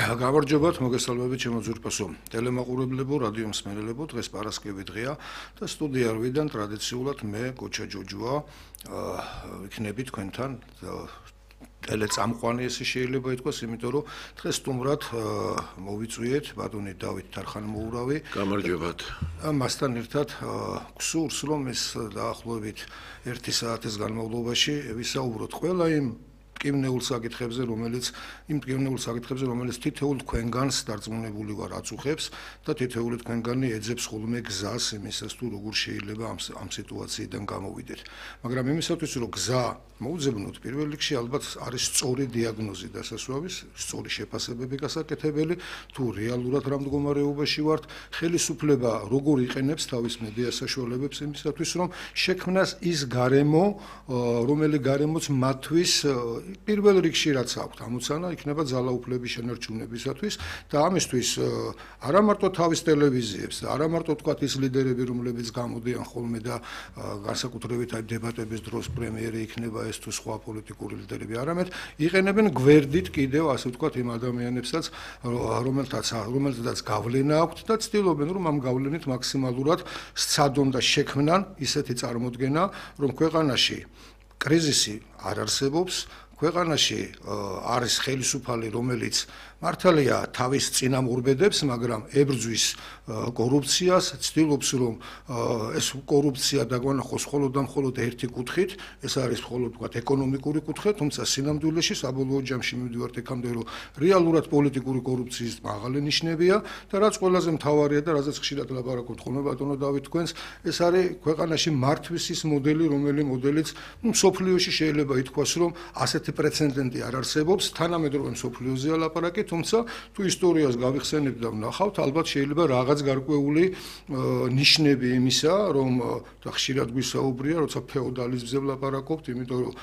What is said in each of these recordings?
გამარჯობათ, მოგესალმებით ჩემო ძვირფასო ტელემაყურებლებო, რადიო მსმენელებო, დღეს პარასკევი დღეა და სტუდიარვიდან ტრადიციულად მე კოჩა ჯოჯოა ვიქნები თქვენთან ტელეწამყვანი ესე შეიძლება ითქვას, იმიტომ რომ დღეს სტუმრად მოვიწვიეთ ბატონი დავით თარხანმოურავი. გამარჯობათ. მასთან ერთად გსურს რომ ეს დაახლოებით 1 საათის განმავლობაში ვისაუბროთ ყველა იმ მტკივნეულ საკითხებზე, რომელიც თითოეულ თქვენგანს დარწმუნებული ვარ აწუხებს და თითოეული თქვენგანი ეძებს ხოლმე გზას იმისას თუ როგორ შეიძლება ამ სიტუაციიდან გამოვიდეთ. მაგრამ იმისათვის რომ გზა მოუძებნოთ, პირველ რიგში ალბათ არის სწორი დიაგნოზი დასასვავის, სწორი შეფასებები გასაკეთებელი, თუ რეალურად რა მდგომარეობაში ვართ, ხელისუფლება როგორ იყენებს თავის მედია საშუალებებს იმისათვის რომ შექმნას ის გარემო, რომელიც გარემოც მათთვის პირველ რიგში რაც აქვთ ამოცანა იქნება ძალაუფლების შენარჩუნებისათვის და ამისთვის არა მარტო თავის ტელევიზიებს და არა მარტო თქვათ ის ლიდერები რომლებიც გამოდიან ხოლმე და განსაკუთრებით აი დებატების დროს პრემიერი იქნება ეს თუ სხვა პოლიტიკური ლიდერები, არამედ იყენებენ გვერდით კიდევ ასე ვთქვათ იმ ადამიანებსაც რომელთაც გავლენა აქვთ და ცდილობენ რომ ამ გავლენით მაქსიმალურად სცადონ და შექმნან ისეთი წარმოდგენა რომ ქვეყანაში კრიზისი არ არსებობს, ქვეყანაში არის ხელისუფალი, რომელიც მართალია თავის წინამორბედებს, მაგრამ ებრძვის კორუფციას, ცდილობს რომ ეს კორუფცია დაგვანახოს მხოლოდ და მხოლოდ ერთი კუთხით, ეს არის მხოლოდ ვთქვათ ეკონომიკური კუთხე, თუმცა სინამდვილეში საბოლოო ჯამში მივდივართ იქამდე რომ რეალურად პოლიტიკური კორუფციის მაღალი ნიშნებია და რაც ყველაზე მთავარია და რაზეც ხშირად ლაპარაკობთ ხოლმე ბატონო დავით თქვენს, ეს არის ქვეყანაში მართვის ის მოდელი, რომელიც მსოფლიოში შეიძლება ითქვას რომ ასეთი პრეცედენტი არ არსებობს, თანამედროვე მსოფლიოზეა ლაპარაკი, თუმცა თუ ისტორიას გავიხსენებთ და ვნახავთ, ალბათ შეიძლება რაღაც გარკვეული ნიშნები იმისა, რომ ხშირად გვისაუბრია, როცა ფეოდალიზმზე ვლაპარაკობთ, იმიტომ რომ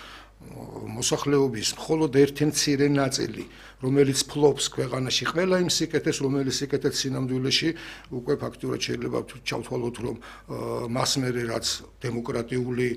მოსახლეობის მხოლოდ ერთი მცირე ნაწილი, რომელიც ფლობს ქვეყანაში ყველა იმ სიკეთეს, რომელიც სიკეთეც სინამდვილეში უკვე ფაქტურად შეიძლება ჩავთვალოთ, რომ მას მერე რაც დემოკრატიული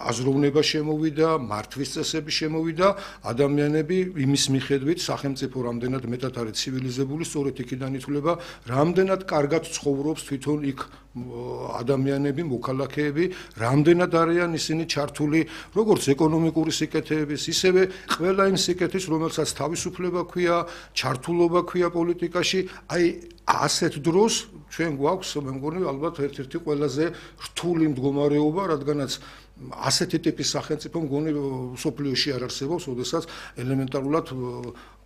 აზროვნება შემოვიდა, მართვის წესები შემოვიდა, ადამიანები იმის მიხედვით სახელმწიფო რამდენად მეტად არის ცივილიზებული, სწორედ იქიდან ითვლება, რამდენად კარგად ცხოვრობს თვითონ იქ ადამიანები, მოქალაქეები, რამდენად არიან ისინი ჩართული როგორც ეკონომიკური სიკეთეების, ისევე ყველა იმ სიკეთის, რომელსაც თავისუფლება ქვია, ჩართულობა ქვია პოლიტიკაში, აი ასეთ დროს ჩვენ გვაქვს, მე მგონი ალბათ ერთ-ერთი ყველაზე რთული მდგომარეობა, რადგანაც ასეთი ტიპის სახელმწიფო მგონი მსოფლიოში არ არსებობს, როდესაც ელემენტარულად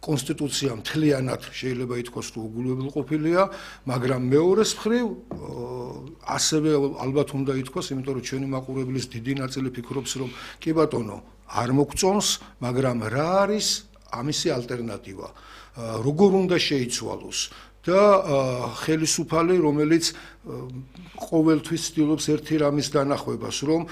კონსტიტუცია მთლიანად შეიძლება ითქვას რომ უგულებელყოფილია, მაგრამ მეორეს მხრივ ასევე ალბათ უნდა ითქვას, იმიტომ რომ ჩვენი მაყურებლის დიდი ნაწილი ფიქრობს, რომ კი ბატონო, არ მოგწონს, მაგრამ რა არის ამისი ალტერნატივა? როგორ უნდა შეიცვალოს? და ხელისუფალი, რომელიც ყოველთვის ცდილობს ერთი რამის დანახვებას, რომ